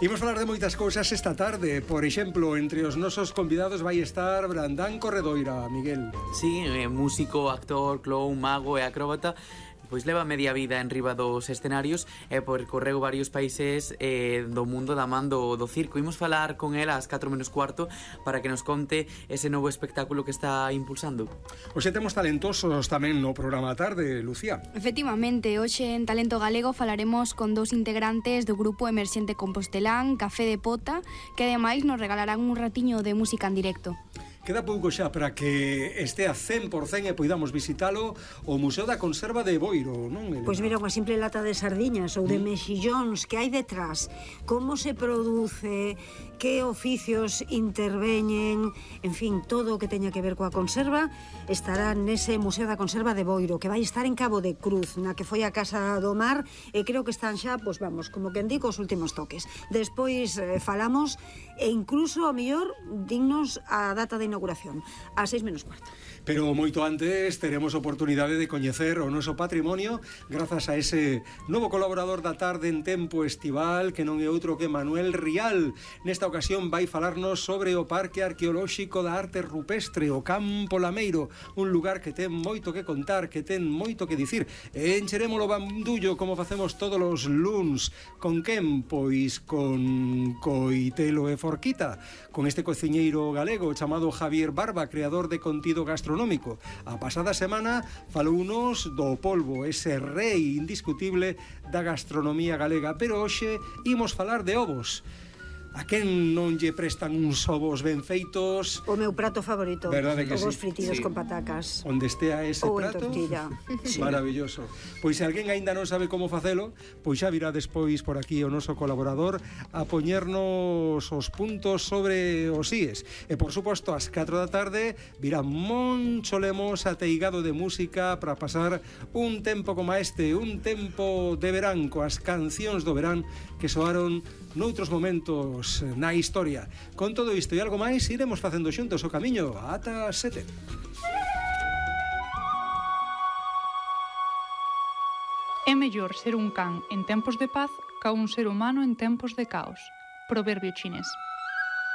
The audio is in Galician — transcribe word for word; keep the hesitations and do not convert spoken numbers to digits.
Imos falar de moitas cousas esta tarde. Por exemplo, entre os nosos convidados vai estar Brandán Corredoira, Miguel. Sí, eh, músico, actor, clown, mago e acróbata. Pois leva media vida en riba dos escenarios e percorreu varios países eh, do mundo da man do, do circo. Imos falar con ela ás catro menos cuarto para que nos conte ese novo espectáculo que está impulsando. Hoxe temos talentosos tamén no programa tarde, Lucía. Efectivamente, hoxe en Talento Galego falaremos con dous integrantes do grupo emerxente compostelán Café de Pota, que ademais nos regalarán un ratiño de música en directo. Queda pouco xa para que estea cen por cen e poidamos visitalo o Museo da Conserva de Boiro, non, Elena? Pois mira, unha simple lata de sardiñas ou de mexillóns que hai detrás, como se produce, que oficios interveñen, en fin, todo o que teña que ver coa conserva estará nese Museo da Conserva de Boiro, que vai estar en Cabo de Cruz, na que foi a Casa do Mar, e creo que están xa, pois vamos, como que indico os últimos toques. Despois eh, falamos e incluso, a mellor, dignos a data de inauguración, a seis menos cuarto. Pero moito antes teremos oportunidade de coñecer o noso patrimonio grazas a ese novo colaborador da tarde en tempo estival, que non é outro que Manuel Rial. Nesta ocasión vai falarnos sobre o Parque Arqueolóxico da Arte Rupestre, o Campo Lameiro, un lugar que ten moito que contar, que ten moito que dicir. E encheremos o bandullo como facemos todos os luns. Con quen? Pois con Coitelo e Forquita, con este cociñeiro galego chamado Javier Barba, creador de contido gastronómico. A pasada semana falounos do polvo, ese rei indiscutible da gastronomía galega, pero hoxe imos falar de ovos. A quen non lle prestan uns ovos ben feitos? O meu prato favorito, ovos sí? fritidos Sí. con patacas. Onde estea ese ou prato? en tortilla. Sí. Maravilloso. Pois se alguén aínda non sabe como facelo, pois xa virá despois por aquí o noso colaborador a poñernos os puntos sobre os íes. E por suposto, ás catro da tarde virá Moncho Lemos ateigado de música para pasar un tempo como este, un tempo de verán, coas cancións do verán que soaron noutros momentos na historia. Con todo isto e algo máis, iremos facendo xuntos o camiño ata sete. É mellor ser un can en tempos de paz ca un ser humano en tempos de caos. Proverbio chinés.